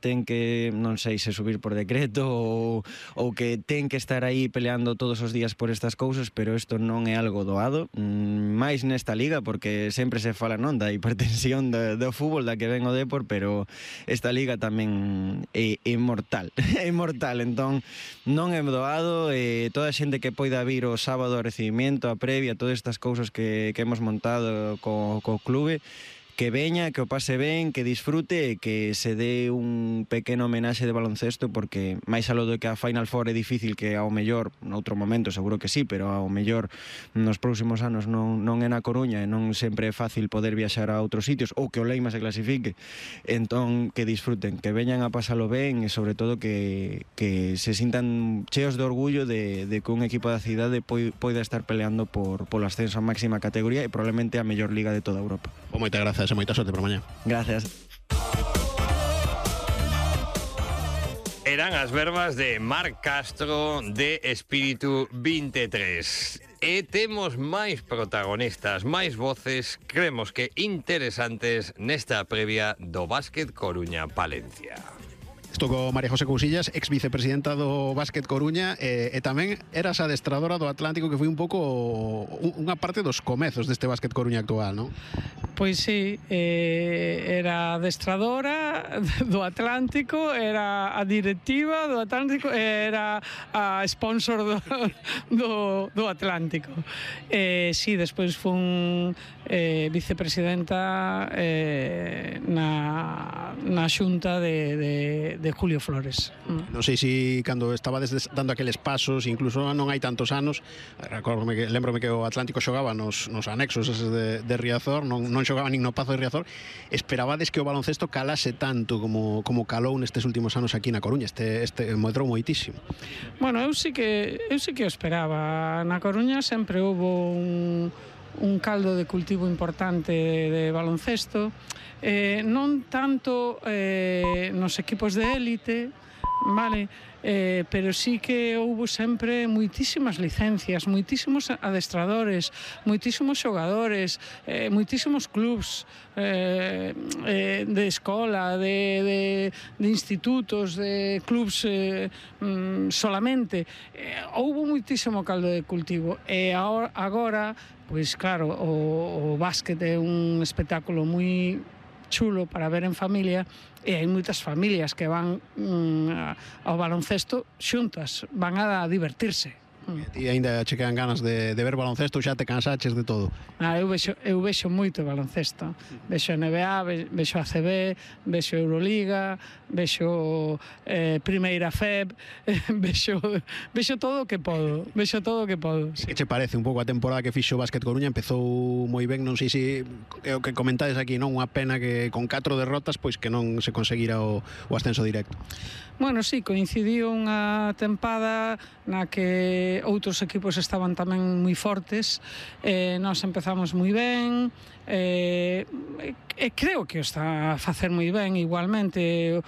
ten que, non sei se subir por decreto ou que ten que estar aí peleando todos os días por estas cousas, pero isto non é algo doado, máis nesta liga, porque sempre se fala non da hipertensión do fútbol da que ven o Depor, pero esta liga tamén é mortal, é mortal, entón non é doado, toda a xente que poida vir o sábado ao recibimiento, a previa, todas estas cousas que hemos montado co clube, que veña, que o pase ben, que disfrute e que se dé un pequeno homenaxe de baloncesto, porque máis aló do que a Final Four é difícil, que ao mellor noutro momento seguro que sí, pero ao mellor nos próximos anos non é na Coruña e non sempre é fácil poder viaxar a outros sitios, ou que o Leima se clasifique, entón que disfruten, que veñan a pasalo ben e sobre todo que se sintan cheos de orgullo de que un equipo da cidade poida estar peleando polo ascenso a máxima categoría e probablemente a mellor liga de toda Europa. Moitas grazas e moita sorte para mañá. Gracias. Eran as verbas de Marc Castro de Espíritu 23. E temos máis protagonistas, máis voces, creemos que interesantes nesta previa do Básquet Coruña Palencia. Estou co María José Cousillas, ex vicepresidenta do Básquet Coruña, e tamén eras adestradora do Atlántico, que foi un pouco unha parte dos comezos deste Básquet Coruña actual, non? Pois sí, era adestradora do Atlántico, era a directiva do Atlántico, era a sponsor do Atlántico. Sí, despois fun vicepresidenta na xunta de Julio Flores. Non sei se cando estabades dando aqueles pasos, incluso non hai tantos anos, lembrome que o Atlántico xogaba nos anexos de Riazor, non xogaba nin no Pazo de Riazor. Esperabades que o baloncesto calase tanto como calou nestes últimos anos aquí na Coruña? Este medrou moitísimo. Bueno, eu sí que o esperaba. Na Coruña sempre houbo un caldo de cultivo importante de baloncesto, non tanto nos equipos de élite, vale, pero sí que houbo sempre moitísimas licencias, moitísimos adestradores, moitísimos xogadores, moitísimos clubs de escola, de institutos, de clubs solamente. Houbo moitísimo caldo de cultivo e agora, pois claro, o básquet é un espectáculo moi chulo para ver en familia e hai moitas familias que van ao baloncesto xuntas, van a divertirse. E ainda che quedan ganas de ver baloncesto, xa te cansaches de todo? Eu vexo moito baloncesto, vexo NBA, vexo ACB, vexo Euroliga, vexo Primeira FEB, vexo todo o que podo, sí. Que che parece un pouco a temporada que fixo o Básquet Coruña? Empezou moi ben, non sei se o que comentades aquí, non? Unha pena que con 4 derrotas pois que non se conseguira o ascenso directo. Bueno, sí, coincidiu unha tempada na que outros equipos estaban tamén moi fortes, nós empezamos moi ben, e creo que o está a facer moi ben igualmente,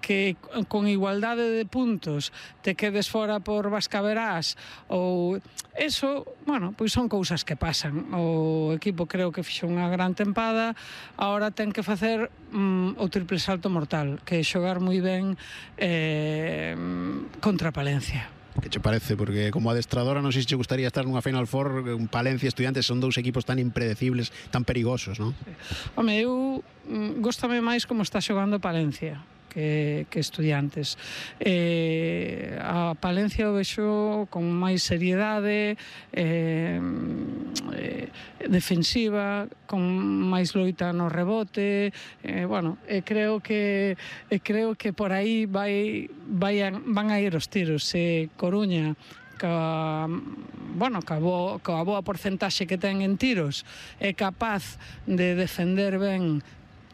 que con igualdade de puntos te quedes fora por Vascaverás ou eso, bueno, pois son cousas que pasan. O equipo creo que fixo unha gran tempada, agora ten que facer o triple salto mortal, que é xogar moi ben contra Palencia. Que che parece? Porque como adestradora non sei se che gustaría estar nunha Final Four. Palencia e Estudiantes son dous equipos tan impredecibles, tan perigosos, non? Home, eu góstame máis como está xogando Palencia que Estudiantes. A Palencia o vexo con máis seriedade, defensiva, con máis loita no rebote, bueno, creo que por aí van a ir os tiros. Coruña coa boa porcentaxe que ten en tiros é capaz de defender ben,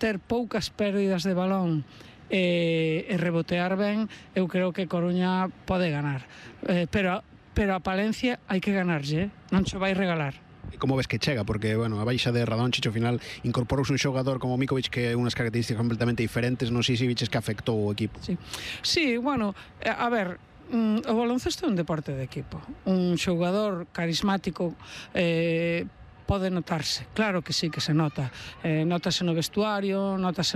ter poucas pérdidas de balón e rebotear ben, eu creo que Coruña pode ganar, pero a Palencia hai que ganarlle, non se vai regalar. E como ves que chega? Porque, bueno, a baixa de Radončić ao final incorporouse un xogador como Mikovic que é unhas características completamente diferentes, non sei se viches que afectou o equipo. Sí, bueno, a ver, o baloncesto é un deporte de equipo. Un xogador carismático pode notarse, claro que sí que se nota, notase no vestuario, notase